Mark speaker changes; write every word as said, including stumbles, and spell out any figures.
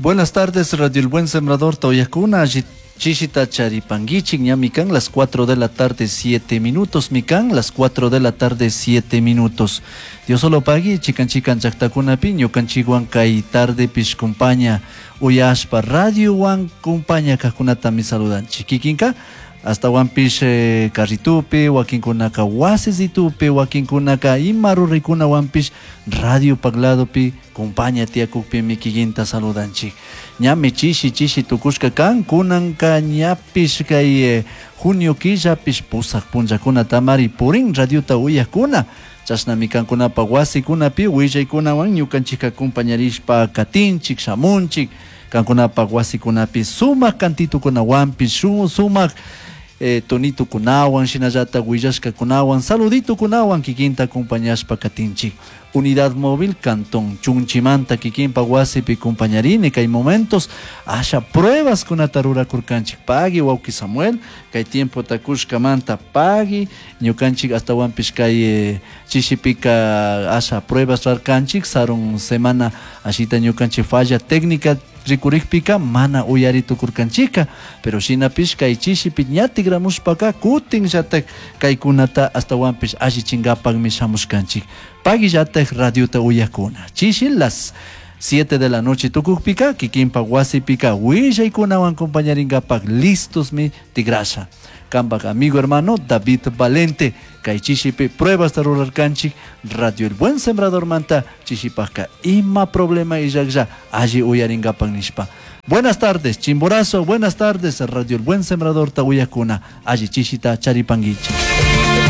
Speaker 1: Buenas tardes, Radio El Buen Sembrador, Toyacuna, Chishita Charipanguichik, ñamican, las cuatro de la tarde, siete minutos, mican, las cuatro de la tarde, siete minutos. Dios solo pagui, chican chican chactacuna piño, canchiguan kay tarde pish compaña, uyashpa, radio wan compaña kakunata mi saludan. Chiquiquinka, hasta wanpish eh, carritupi, wakinkunaka wasisitupi, wakinkunaka ima ruraykuna wanpish radio pagladopi compaña tiyakukpi mikikinta saludanchik. Ñami chishi chishi tukushka kan, kunanka ñapish kay eh, junio killapish pusaq punllakuna tamari purin radiota uyakuna. Chashnami kankunapa wasikunapi willaykunawan ñukanchikka compañarishpa katinchik, shamunchik, kankunapa wasikunapi sumak kantitukunawanpish, sumak eh, tonitukunawan, shinallata willashkakunawan, saluditukunawan kikinta acompañashpa katinchik. Unidad Móvil Cantón Chunchimanta kikinpa wasipi compañarini kay momentos asha pruebas kunata rurakurkanchik. Pagui wawki Samuel, kay tiempo takushkamanta pagui ñukanchik hasta kay eh, chishipika asha pruebas rarkanchik sarun semana ashita ñukanchik falla técnica rikurikpika mana uyari tukurkanchika, pero shinapish kay chishipi ña tigramushpaka kutinllatak kaykunata astawanpish allichinkapakmi shamushkanchik. Paguillatak radiota uyakuna. Chishi las siete de la noche tukukpika kikinpa wasipika willaykunawan compañarinkapak listos mi tigrasha. Kampak amigo hermano David Valente, kay chishipi pruebas rurarkanchik Radio El Buen Sembrador manta chishipaka ima problema illaklla alli uyarinkapak nishpa. Buenas tardes, Chimborazo, buenas tardes, Radio El Buen Sembrador tawiyakuna, alli chishita charipanguichi.